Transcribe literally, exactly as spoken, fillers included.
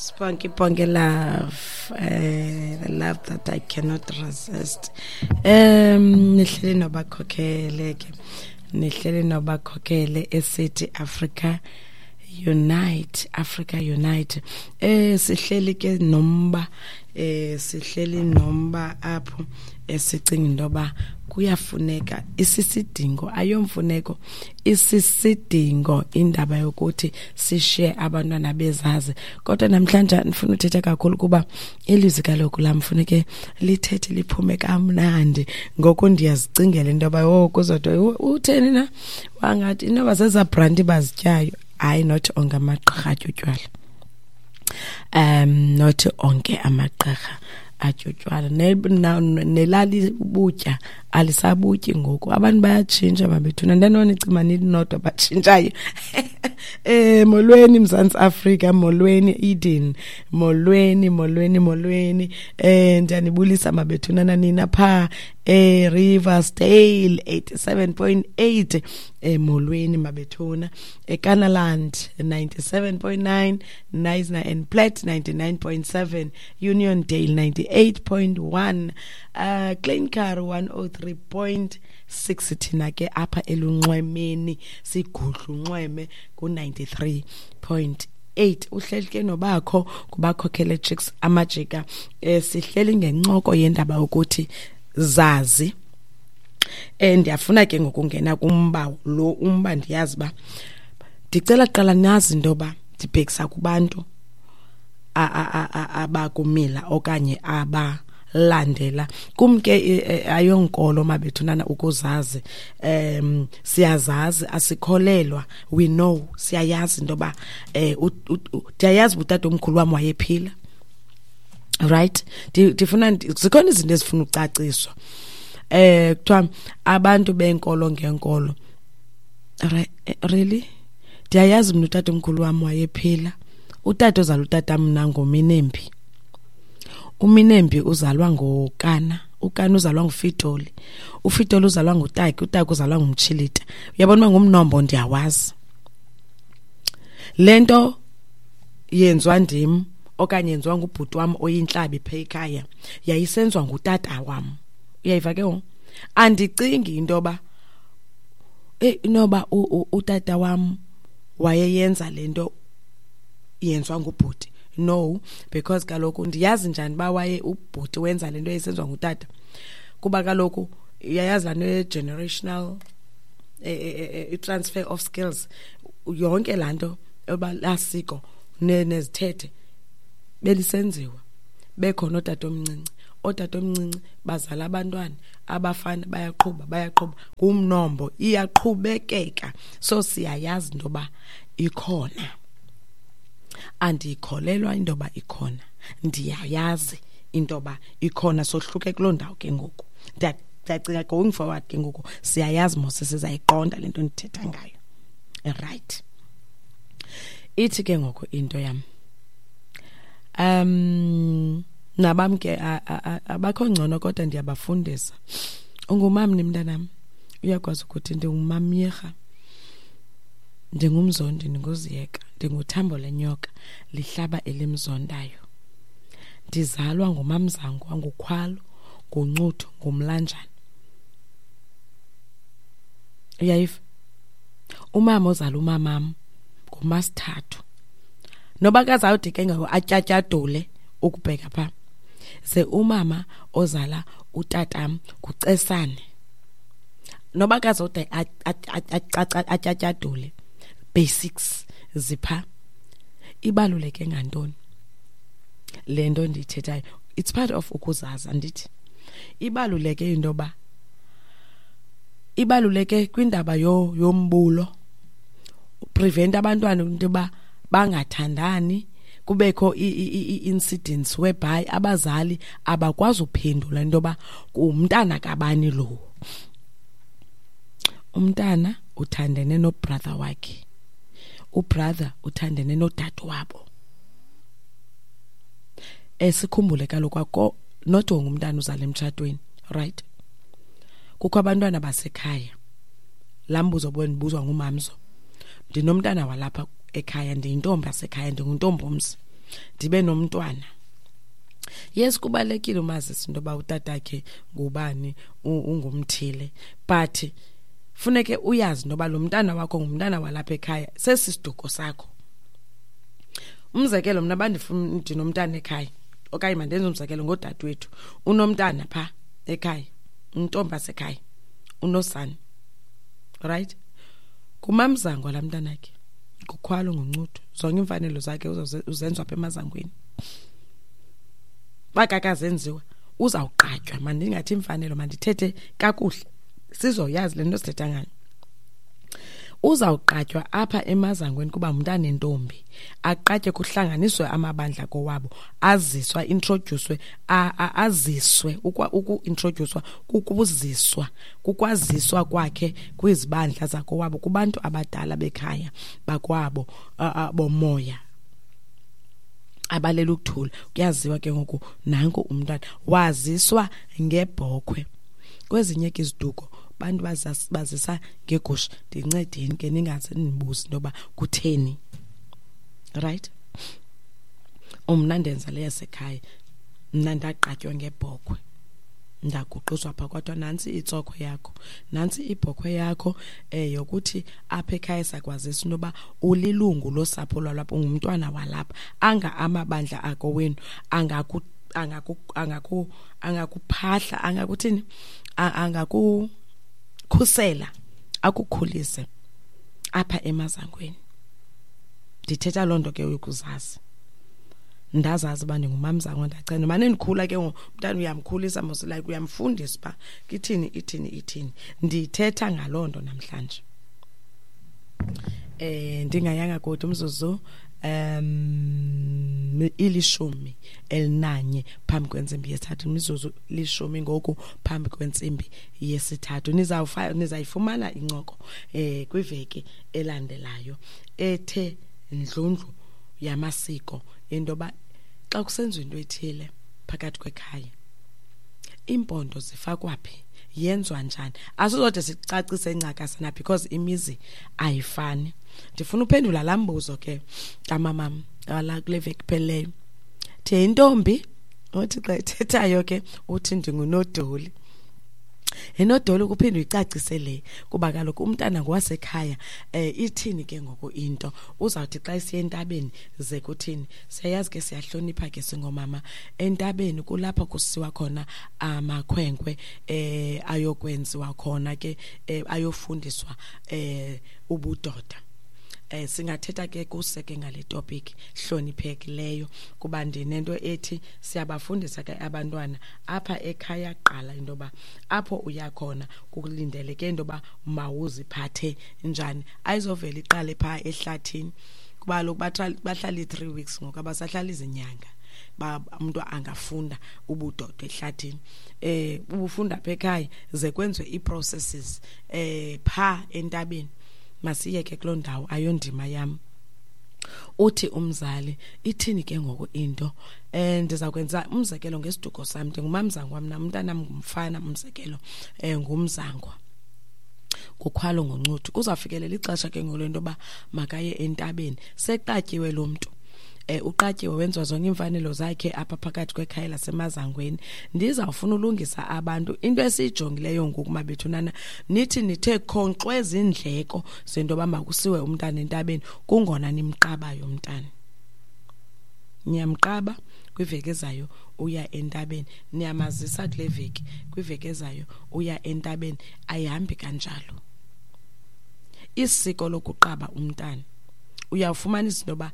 Spunky Ponky love, uh, the love that I cannot resist. Um, nihleli nobakhokhele ke, nihleli nobakhokhele eCity Africa Unite, Africa Unite. Eh sihleli ke nomba, eh sihleli nomba apho esicinga intoba kuyafuneka isisidingo, ayomfuneko, isisidingo indaba yokuthi sishiye abantwana bezazi. Kodwa namhlanje ndifuna uthetha kakhulu kuba ilizwi kaloku lam funeke lithethe liphume kamnandi. Ngoku ndiyazicingela into yoba oh kuzodwa utheni na wangathi inoba zezaa branti bazityayo. Hayi, not onke amagqirha atya utywala, um not onke amagqirha atya utywala. Nelali ubutya alisabutyi ngoku, abantu bayatshintsha mabethuna. Ndandibona icima nidinodwa batshintshayo. Eh molweni Mzantsi Afrika, molweni Eden, molweni molweni molweni. Eh ndiyanibulisa mabethuna nanina pha eh Riversdale eighty-seven point eight, eh molweni mabethuna. eKanaland ninety-seven point nine, Knysna and Plett ninety-nine point seven, Uniondale ninety-eight point one, uh Klein Karoo one oh three point six. Thina ke apha elunxwemeni sigudla unxweme ku ninety-three point eight. Uhleli ke nobakho kubakhokhele chicks amajika. Eh sihleli ngencoko yendaba ukuthi zazi. Eh ndiyafuna ke ngokungena kumba lo umba, ndiyazi ba ndicela qala nazi intoba ndibhekisa kubantu abakumila okanye aba landela kumke ayonkolo mabethunana ukuzazi. Um siyazazi, asikholelwa, we know, siyayazi intoba eh ndiyayazi utata omkhulu wam wayephila, right? Ndifuna zikhona izinto ezifuna ucaciswa. Eh kuthiwa abantu benkolo ngenkolo, really ndiyayazi mna utata omkhulu wam wayephila. Utata ozala utata mna nguMinembi, uMinembi uzalwa ngoKana, uKana uzalwa nguFitoli, uFitoli uzalwa nguTaki, uTaki uzalwa nguMtshilita. Uyabona uba ngumnombo, ndiyawazi le nto yenziwa ndim okanye yenziwa ngubhuti wam oyintlabi pha ekhaya, yayisenziwa ngutata wam. Uyayiva ke ngoku? Andicingi into yoba eh inoba utata wam wayeyenza le nto yenziwa ngubhuti. No, because kaloku ndiyazi njani uba waye ubhuti wenza le nto eyenziwa ngutata, kuba kaloku uyayazi laa nto ye-generational i-transfer of skills, yonke laa nto yoba laa siko nezithethe belisenziwa bekhona ootata omncinci. Ootata omncinci bazala abantwana, abafana bayaqhuba bayaqhuba ngumnombo, iyaqhubekeka. So siyayazi into yoba ikhona. Andiyikholelwa into yoba ikhona, ndiyayazi into yoba ikhona. Sohluke kuloo ndawo ke ngoku. Ndiyacinga going forward ke ngoku siyayazi mos, sizayiqonda le nto ndithetha ngayo, right? Ithi ke ngoku into yam, um nabam ke abakho ngcono, kodwa ndiyabafundisa. Ungumamni mntanam, uyakwazi ukuthi ndingumamyirha, ndingumzondi, ndinguziyeka, ndinguthambo lenyoka lihlaba elimzondayo. Ndizalwa ngumamzango, ngukhwalo, nguncuthu, ngumlanjana. Uyayiva? Umama ozala umamam ngumasithathu, noba kazawude ke ngoku atyatyadule ukubheka pha. Ze umama ozala utatam ngucesane, noba kazawude atyatyadule, basics zipha. Ibaluleke ngantoni le nto ndiyithethayo? It's part of ukuzazi, andithi? Ibaluleke into yoba ibaluleke kwindaba yo yombulo, prevent abantwana into yoba bangathandani, kubekho i-incidents whereby abazali abakwazi uphendula into yoba umntana kabani lo. Umntana uthandene nobrother wakhe, ubrother uthandene nodade wabo. Esikhumbule kaloku akho not wonke umntana uzala emtshatweni, right? Kukho abantwana basekhaya. Laa mbuzo bendibuzwa ngumamzo, ndinomntana walapha ekhaya, ndiyintombi yasekhaya, ndinguntombomzi. Ndibe nomntwana. Yes, kubalulekile umazisa into yoba utatakhe ngubani, ungumthile, but funeke uyazi into yoba lo mntana wakho ngumntana walapha ekhaya, sesi siduko sakho. Umzekelo, mna bandifuna ndinomntana ekhaya, okanye mandenze umzekelo ngodadewethu, unomntana phaa ekhaya, intombi yasekhaya, unosana, right? Ngumamzangwa laa mntanakhe, ngukhwalo, nguncuthu, zonke iimfanelo zakhe uzenziwa apha emazangweni. Uba kakazenziwa uzawuqatywa. Mandingathi iimfanelo, mandithethe kakuhle sizoyazi le nto sithetha ngayo. Uzawuqatywa apha emazangweni kuba ngumntanentombi, aqatywe kuhlanganiswe amabandla kowabo, aziswa, introdyuswe, aziswe. Uku-introdyuswa kukuziswa, kukwaziswa kwakhe kwizibandla zakowabo, kubantu abadala bekhaya bakwabo bomoya abalela ukuthula. Kuyaziwa ke ngoku nanku umntwana waziswa ngebhokhwe. Kwezinye ke iziduko bantu bazisa ngegusha. Ndincedeni ke ningaze nindibuze into yoba kutheni, right? Mna ndenza le yasekhaya, mna ndaqatywa ngebhokhwe, ndaguqiswa phaa, kwathiwa nantsi itsokhwe yakho, nantsi ibhokhwe yakho um yokuthi apha ekhaya sakwazisa into yoba ulilungu losapho lwalapha, ungumntwana walapha. Anga amabandla akowenu angaku angaku angaku angakuphahla, angakuthini, angakukhusela, akukhulise apha emazangweni. Ndithetha loo nto ke yokuzazi. Ndazazi uba ndingumamzangwa, ndachena. Mane ndikhula ke ngoku, umntana uyamkhulisa mos, like uyamfundisa uba ithini, ithini, ithini. Ndithetha ngaloo nto namhlanje. Eh ndingayanga kude, umzuzu um ilishumi elinanye phambi kwentsimbi yesithathu, imizuzu lishumi ngoku phambi kwentsimbi yesithathu. Nizawufa nizayifumana incoko eh kwiveki elandelayo ethe ndlundlu yamasiko, into yoba xa kusenziwa into ethile phakathi kwekhaya, iimpondo zifakwa phi, yenziwa njani. Asizode sicacise ncakasana because imizi ayifani. Ndifuna uphendula laa mbuzo ke kamamam wala kule veki iphelileyo. The intombi uthi xa ethethayo ke uthi ndingunodoli. Inodoli kuphinde uyicacise le, kuba kaloku umntana ngowasekhaya. eh ithini ke ngoku into uzawuthi xa isiya entabeni ze kuthini? Siyayazi ke, siyahlonipha ke singomama. Entabeni kulapho kusiwa khona amakhwenkwe eh ayokwenziwa khona ke, eh, ayofundiswa eh ubudoda. eh singathetha ke kuseke ngale topic hloniphekileyo, kuba ndinento ethi siyabafundisa ke abantwana apha ekhaya qala into yoba apho uya khona kulindeleke into yoba mawuziphathe njani. Ayizovela iqale phaa ehlathini, kuba kaloku bahlala ii-three weeks ngoku, abasahlali izinyanga. Umntu angafunda ubudoda ehlathini, eh ubufunda apha ekhaya ze kwenziwe ii-processes eh phaa entabeni. Masiyeke kuloo ndawo, ayondima yam. Uthi umzali ithini ke ngoku into? eh ndiza kwenza umzekelo ngesiduko sam. Ndingumamzangwa mna, umntanam ngumfana, umzekelo eh ngumzangwa, ngukhwalo, ngoncuthu. Kuzawufikelela ixesha ke ngoku lento yoba makaye entabeni. Seqatyiwe lo mntu, eh uqatyiwe, wenziwa zonke iimfanelo zakhe apha phakathi kwekhaya lasemazangweni. Ndizawufuna ulungisa abantu into esiyijongileyo ngoku, mabethunana. Nithi nithe khonkxwe zindleko zento yoba makusiwe umntana entabeni, kungona nimqabayo umntana. Niyamqaba, kwiveki ezayo uya entabeni. Niyamazisa kule veki, kwiveki ezayo uya entabeni. Ayihambi kanjalo. Isiko lokuqaba umntana, uyawufumanisa into yoba